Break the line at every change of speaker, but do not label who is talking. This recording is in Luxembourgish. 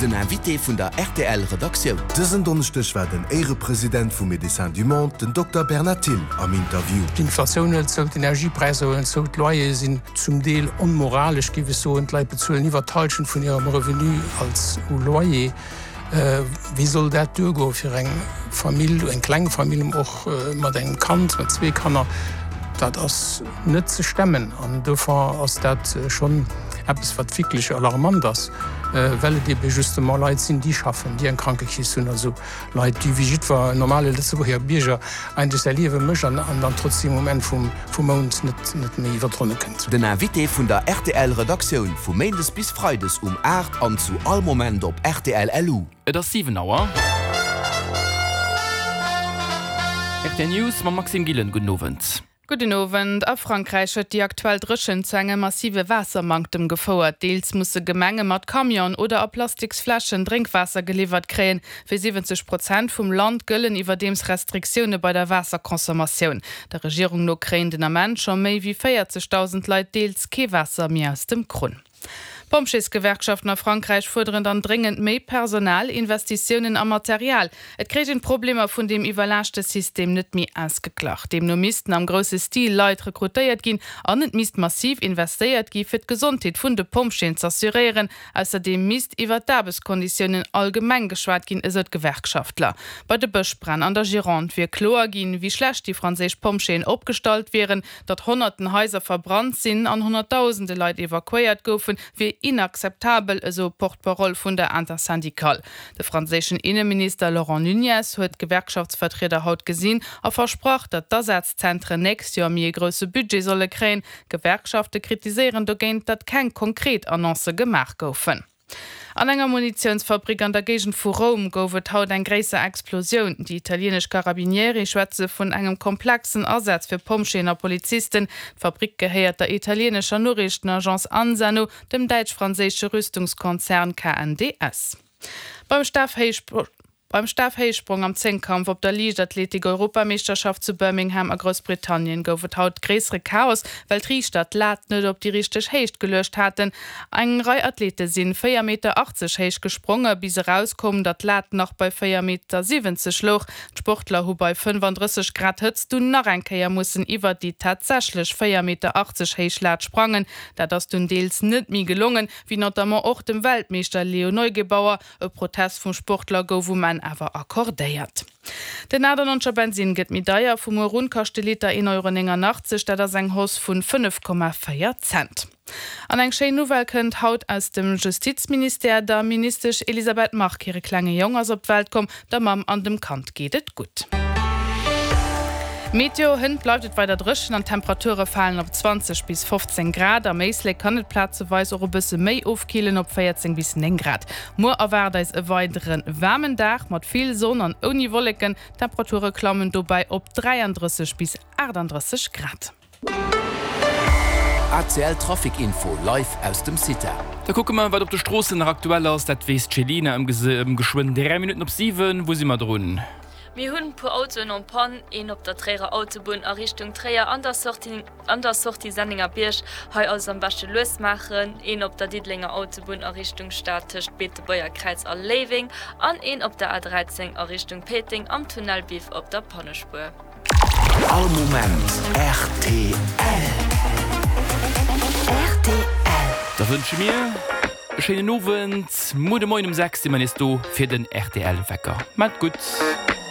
Den Invité vun der rtl Redaktioun.
Dësen Donneschdeg war den Éirepresident vu Médecins du Monde, den Dokter Bernard Thill, am Interview.
D'Inflatioun hëlt zou, d'Energiepräisser huelen zou, d'Loyere sinn zum Deel onmoralesch, géif ech soen. D'Leit bezuelen iwwer d'Hallschent vun hirem Revenu als u Loyer. Wéi soll dat duergoe fir eng Famill, eng kleng Famill och mat engem Kand, mat zwee Kanner? Dat ass net ze stemmen an dofir ass dat schonn eppes, wat wierklech alarmant ass, well et ebe justement Leit sinn, déi schaffen, déi eng Krankekeess hunn, also Leit, déi wéi jiddwer normale Lëtzebuerger Bierger eigentlech säi Liewe mécht an dann trotzdeem um Enn vum Mount net méi iwwer d'Ronne kënnt.
Den Invité vun der rtl Redaktioun vu Méindes bis Freides um 8 an zu all Moment op rtl LU.
Et ass 7 Auer. Rtl News mam Maxime Gillen. Gudden Owend.
Gudden Owend. A Frankräich huet déi aktuell Dréchent zu engem massive Waassermanktem gefouert. Deels musse Gemenge mat Camion oder a Plastiksfläschen Drénkwaasser geliwwert kréien. Fir 70 Prozent vum Land gëllen iwwerdeems Restriktioune bei der Waasserconsommatioun. Der Regierung no kréien den Ament scho méi wéi 40.000 Leit deels kee Waasser méi aus dem Krunn. D'Pompjeesgewerkschaften a Frankräich fuerderen dann dréngend méi Personal, Investitiounen a Material. Et kréich een d'Problemer vun deem iwwerlaaschte System net méi ausgeglach. Deemno missten am grousse Stil Leit rekrutéiert ginn an et misst massiv investéiert gi fir d'Gesondheet vun de Pompjeeën z'assuréieren. Ausserdeem misst iwwer d'Aarbechtskonditiounen allgemeng geschwat ginn, esou d'Gewerkschaftler. Bei de Bëschbränn an der Gironde wier kloer ginn, wéi schlecht déi franséisch Pompjeeën opgestallt wieren. Datt honnerten Haiser verbrannt sinn an honnertdausende Leit evakuéiert goufen, wier inakzeptabel, esou e Porte-parole vun der Intersyndicale. De franséischen Inneminister Laurent Nunez huet d'Gewerkschaftsvertrieder haut gesinn a versprach, datt d'Asazentren nächst Joer méi e grousse Budget solle kréien. D'Gewerkschafte kritiséieren dogéint, datt keng konkret Annoncë gemaach goufen. An enger Munitiounsfabrik an der Géigend vu Roum gouf et haut eng gréisser Explosioun. Déi italieenesch Carabinieri schwätze vun engem komplexen Asaz fir Pompjeeën a Polizisten. D'Fabrik gehéiert der italieenescher Noriichtenagence ANSA no, dem däitsch-franséische Rüstungskonzern KNDS. Beim Beim Stafhéichsprong am Zéngkampf op der Liichtathletik-Europameeschterschaft zu Birmingham a Groussbritannien gouf et haut gréissere Chaos, well d'Riichter d'Lat net op déi richteg Héicht geluecht haten. Eng Rei Athlete sinn 4 Meter 80 héich gespronge bis erauskoum, datt d'Lat nach bei 4 Meter 70 louch. D'Sportler hu bei 35 Grad Hëtzt dunn nach eng Kéier mussen iwwer déi tatsächlech 4 Meter 80 héich Lat sprangen. Dat ass dunn deels net méi gelongen, wéi notamment och dem Weltmeeschter Leo Neugebauer. E Protest vum Sportler gouf um Enn awer accordéiert. Den 98er Bensinn gëtt méi deier, vu muer un kascht de Liter 1,89 Euro, dat ass eng Hausse vun 5,4 Cent. An eng schéin Nouvelle kënnt haut aus dem Justizministère, Der Ministesch Elisabeth Margue hire klenge Jong ass op d'Welt komm. Der Mamm an dem Kand geet et gutt. Meteo, Hënt bleift et weider dréchen an d'Temperature falen op 20 bis 15 Grad. Am Éislek kann et plazeweis och e bësse méi ofkillen op 14 bis 9 Grad. Muer erwaart eis e weidere waarmen Dag mat vill Sonn an ouni Wolleken. D'Temperature klammen dobäi op 33 bis 38 Grad.
ACL Trafic Info live aus dem CITA.
Da kucke mer, wat op de Stroossen nach aktuell ass. Dat weess d'Chelina ëm geschwënn 3 Minutten op 7. Wou si mer drun?
Mir hunn puer Autoen en panne, een op der Tréierer Autobunn a Richtung Tréier an der Sortie an der Sortie Sennengerbierg, hei also am beschte lues maachen, een op der Diddelenger Autobunn a Richtung Stad tëscht Beetebuerger Kräiz a Léiweng an een op der A13 a Richtung Péiteng am Tunnel Biff op der Pannespuer.
All Moment rtl.
Rtl. Da wënsche mir e schéinen Owend. Muer de Moien um 6 si mer nees do fir den rtl Wecker. Maat et gutt.